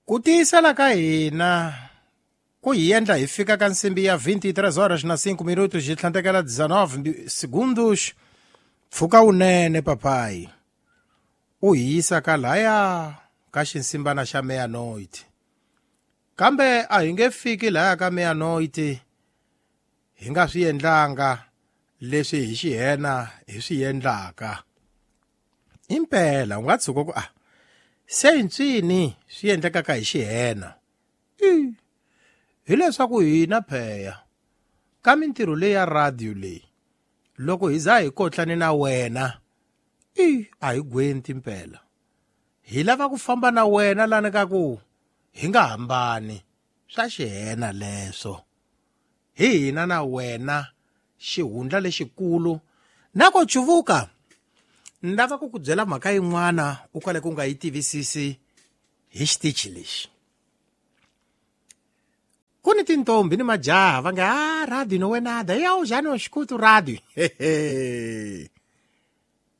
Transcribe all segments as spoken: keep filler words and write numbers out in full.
Ku tiyisela ka hina ku hi endla hi fika ka nsimbi ya vinte e três horas na cinco minutos hi tlhandlekela dezenove segundos. Pfuka wunene papayi u hi yisa ka laya ka xinsimbana xa meia-noite, kambe a hi nge fiki laya ka meia-noite hi nga swi endlanga leswi hi xihena hi swi endlaka. Impela u nga tshuka ku a se ntswini swi endlekaka hi xihena i hileswaku hina pheya ka mintirho leyi ya radio leyi, loko hi za hi kotlane na wena i a hi gwenti mpela, hi lava ku famba na wena lani ka ku hi nga hambani swa xihena leswo hi hina na wena xihundla lexikulu na ko cuvuka. Ni lava ku ku byela mhaka yin'wana u kale ku nga yi tivisisi hi xitichi lexi. Ku ni tintombi ni majaha va nga a radio no wenada ya ujani o xikutu radio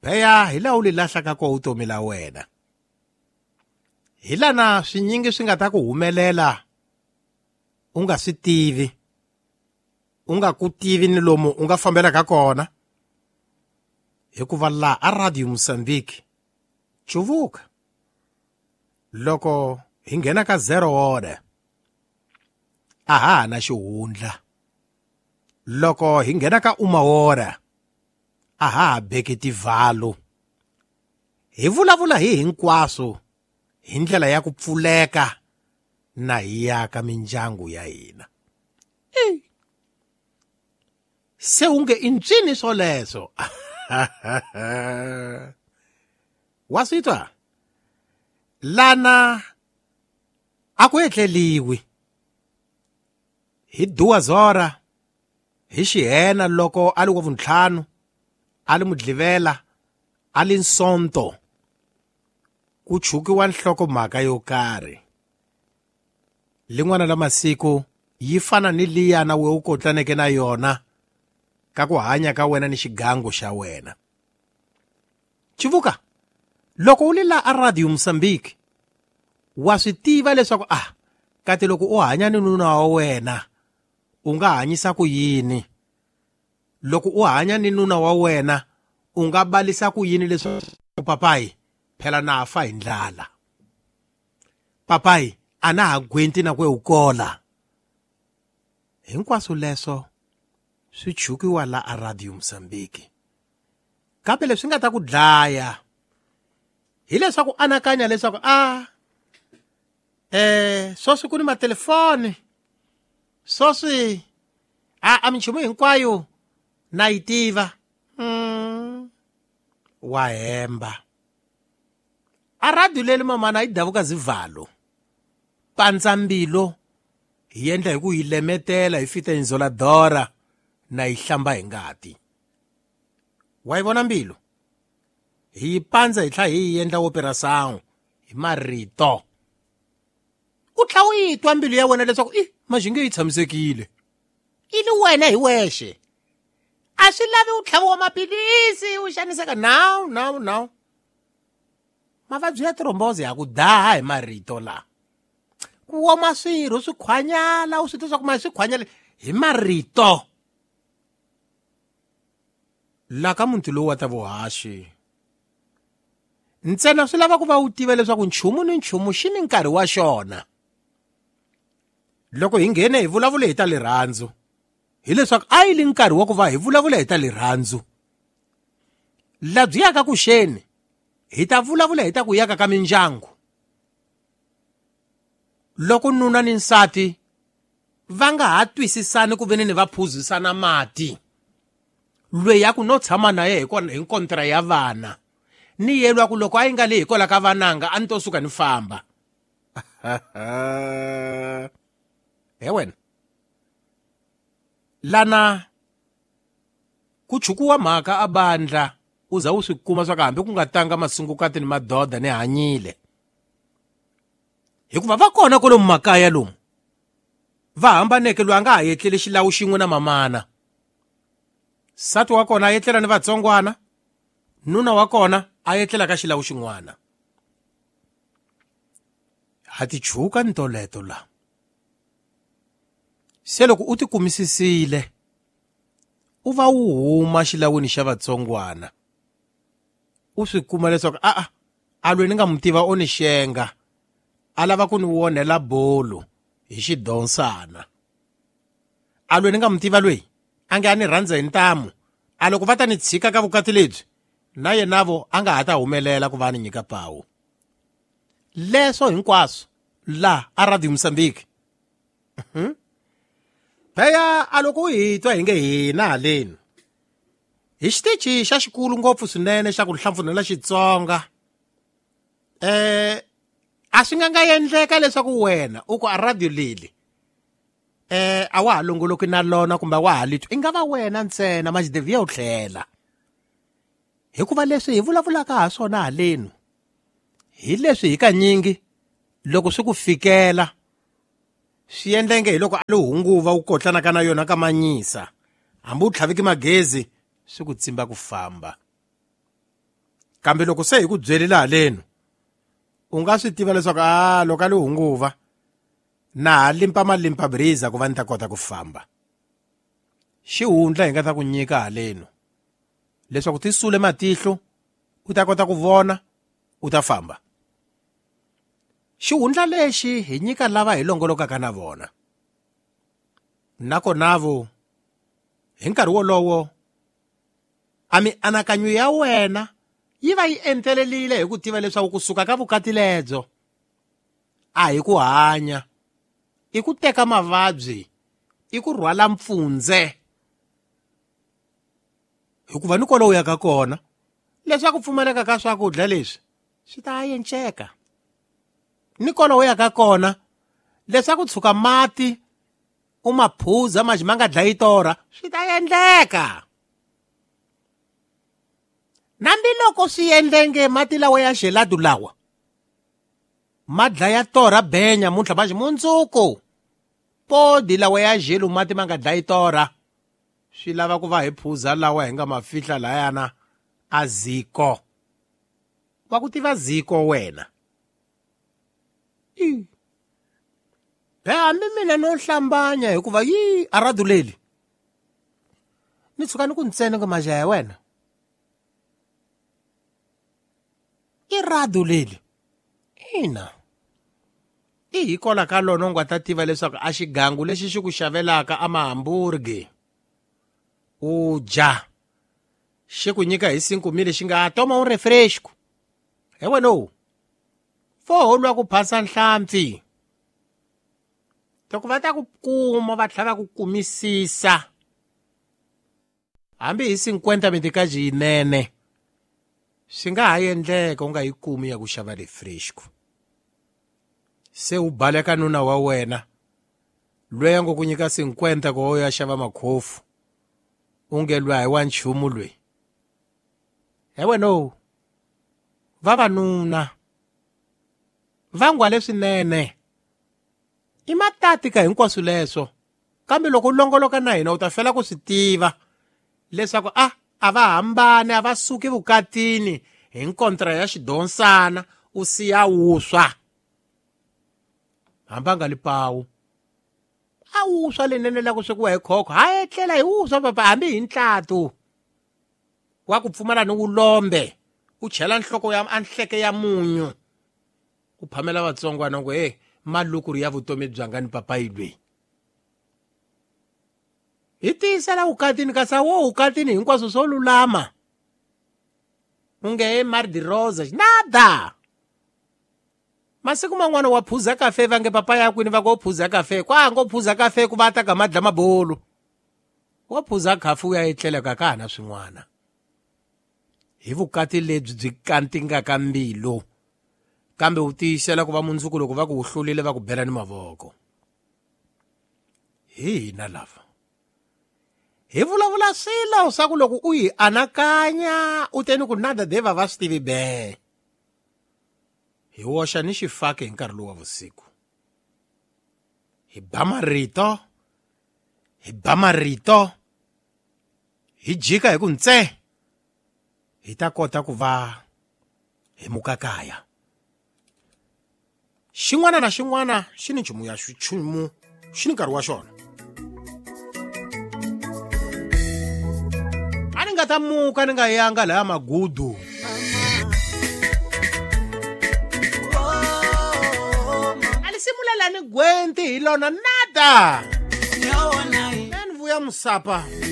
pheya hi laha u li lahlaka ko vutomi la wena, hi lana swinyingi swi nga ta ku humelela u nga swi tivi, u nga ku tivi ni lomu u nga fambelaka kona, hikuva laha a Radio Mozambique cuvuka loko hi nghena ka zero order a ha ha na xihundla, loko hi nghena ka uma hora a ha ha beki tivhalo, hi vulavula hi hinkwaswo hi ndlela ya ku pfuleka na hi yaka mindyangu ya hina. Se u nge i ntswini swoleswo wa swi twa lana a ku etleliwi hi duas hora hi xihena loko a li wa vuntlhanu a li mudlivela a li nsonto ku chukiwa nhlokomhaka yo karhi lin'wana la masiku yi fana ni liyana we u kotlaneke na yona ka ku hanya ka wena ni xigangu xa wena. Chivuka loko u li la a Radio Mozambique wa swi tiva leswaku ah kati loko u hanya ni nuna wa wena u nga hanyisa ku yini, loko u hanya ni nuna wa wena u nga balisa ku yini leswaku papayi phela na fa hi ndlala, papayi a na ha gwenti na ku u kola. Hinkwaswo leswo swi chukiwa la a Radio Mozambique. Kambe leswi nga ta ku dlaya hileswaku anakanya leswaku a eh sweswi ku ni matelefoni, sweswi a a minchumu hinkwayo na yi tiva. Mm. Wa hemba a radio leli mamana yi davuka zivalo pandza mbilo hi endla hi ku yi lemetela hi fita inzoladora na yi hlamba hi ngati. Wa yi vona mbilu hi yi pandza hi tlhela hi yi endla operação hi marito, u tlhela u yi twa mbilu ya wena leswaku i maxinge yi tshamisekile i li wena hi wexe, a swi lavi u tlhaviwa maphilisi u xaniseka. Now now now mavabyi ya thrombosis ya ku daha hi marito la ku woma swirho swi khwanyala u swi twa swa ku ma swi khwanyala hi marito. La ka muti lowu wa ta vuhaxi ntsena swi lava ku va u tiva leswaku nchumu ni nchumu xi ni nkarhi wa xona. Loko hi nghene hi vulavula hi ta rirhandzu, hileswaku a yi li nkarhi wa ku va hi vulavula hi ta rirhandzu. Labyi yaka ku xeni hi ta vulavula hi ta ku yaka ka mindyangu. Loko nuna ni nsati va nga ha twisisani ku veni ni va phuzisana mati, loyi ya ku no tshama na ye hi kontra ya vana ni yelwa ku loko a yi nga le hikwalaho ka vananga a ni to suka ni famba. He wena lana ku chukuwa mhaka a bandla u za u swi kuma swa ku hambi ku nga tanga masungukati ni madoda ni hanyile, hikuva va kona kwalomu makaya lomu va hambaneke loyi a nga ha etleli xilawu xin'we na mamana, nsati wa kona a etlela ni vatsongwana, nuna wa kona a etlela ka xilawu xin'wana. Ha ti chuka ni toleto la. Se loko u ti kumisisile, u va u huma xilawini xa vatsongwana. U swi kuma leswaku a a a lwe ni nga mu tiva o ni xenga, a lava ku ni wonhela bolo hi xidonsana. A lwe ni nga mu tiva lweyi, a nge a ni rhandza hi ntamu, a loko va ta ni tshika ka vukati lebyi, na yena vo a nga ha ta humelela ku va ni nyika pawu. Leswo hinkwaswo la a Radio Mozambique. Pheya a loko u hi twa hi nge hina haleni hi xitichi xa xikulu ngopfu swinene xa ku hlampfunela Xitsonga, eh a swi nga nga endleka leswaku wena u ku a radio leli eh a wa ha longoloki na lona kumbe a wa ha litwi, i nga va wena ntsena maxideviya u tlhela. Hikuva leswi hi vulavulaka ha swona halenu hi leswi hi kanyingi loko swi ku fikela swi endlenge hi loko a li hunguva u kotlanaka na yona ka manyisa, hambi u tlhaviki magezi swi ku tsimba ku famba. Kambe loko se hi ku byerile halenu, u nga swi tiva leswaku a loko a li hunguva na ha limpa malimpa briza ku va ni ta kota ku famba. Xihundla hi nga ta ku nyika halenu leswaku ti sule matihlo u ta kota ku vona u ta famba. Xihundla lexi hi nyika lava hi longolokaka na vona. Nakona vo hi nkarhi wolowo a mianakanyo ya wena yi va yi entelelile hi ku tiva leswaku kusuka ka vukati lebyo a hi ku hanya, i ku teka mavabyi, i ku rhwala mpfundze. Hikuva ni kwala u yaka kona leswaku pfumaleka ka swakudya leswi swi ta yenceka. Ni kwala u yaka kona leswaku tshuka mati u ma phuza maji ma nga dlayi torha swi ta endleka. Nambiloko swi endlenge mati lawa ya gelado lawa ma dlaya torha benya muntlha maji mundzuku podi lawa ya gelo mati ma nga dlayi torha swi lava ku va hi phuza lawa hi nga ma fihla layana a ziko. Wa ku tiva ziko wena. I. Be hambi mina no hlambanya hikuva yi a radio leli. Ni tshuka ni ku ntsena nga maja ya wena. I radio leli. Ina. I hikola ka lona u nga ta tiva leswaku a xigangu lexi xi ku xavelaka a mahamburgi u dya xi ku nyika hi cinco mil xi nga toma un refresco. He wena lowu fo lwa ku phasa nhlampfi. Loko va ta ku kuma va tlhela va ku kumisisa hambi hi cinquenta mitikaji yinene swi nga ha endleka u nga yi kumi ya ku xava refresco. Se u baleka nuna wa wena loyi a ngo ku nyika cinquenta ku u ya xava makhofu u nge lwa hi wa nchumu loyi. He wena lowu vavanuna va ngwa leswinene i matati ka hinkwaswo leswo, kambe loko u longoloka na hina u ta fela ku swi tiva leswaku a a va hambani, a va suki vukatini hi nkontra ya xidonsana u siya wuswa. Hambi a nga li pawu a wuswa lenene la ku swekiwa hi khokho ha etlela hi wuswa papa hambi hi ntlatu wa ku pfumala ni wulombe u chela nhloko ya anhleke ya munyu u phamela vatsongwana ku he malukuru ya vutomi byanga ni papayi lweyi. Hi tiyisela vukatini kasi wo vukatini hinkwaswo swo lulama u nge he mar de rosa nada. Masiku man'wana wa phuza kafe va nge papa ya kwini va ngo phuza kafe kwa ngo phuza kafe ku va ta ka madla mabolo wa phuza khafu u ya etlela ka ka hana swin'wana. Hi vukati lebyi byi kantingaka mbilu kambe u tiyisela ku va mundzuku loko va ku u hlulile va ku bela ni mavoko. Hi hina lava hi vulavula swilo swa ku loko u hi anakanya u teni ku nada deva va swi tivi be. Hi woxa ni xifaki hi nkarhi lowu wa vusiku. Hi ba marito, hi ba marito, hi jika hi ku ntse hi ta kota ku va hi muka kaya. Xi Xin'wana na xin'wana xi ni nchumu ya nchumu xi ni nkarhi wa xona. A ni nga ta muka ni nga yanga laya magudu. A li simulela ni gwenti hi lona nada. Ni vuya musapa.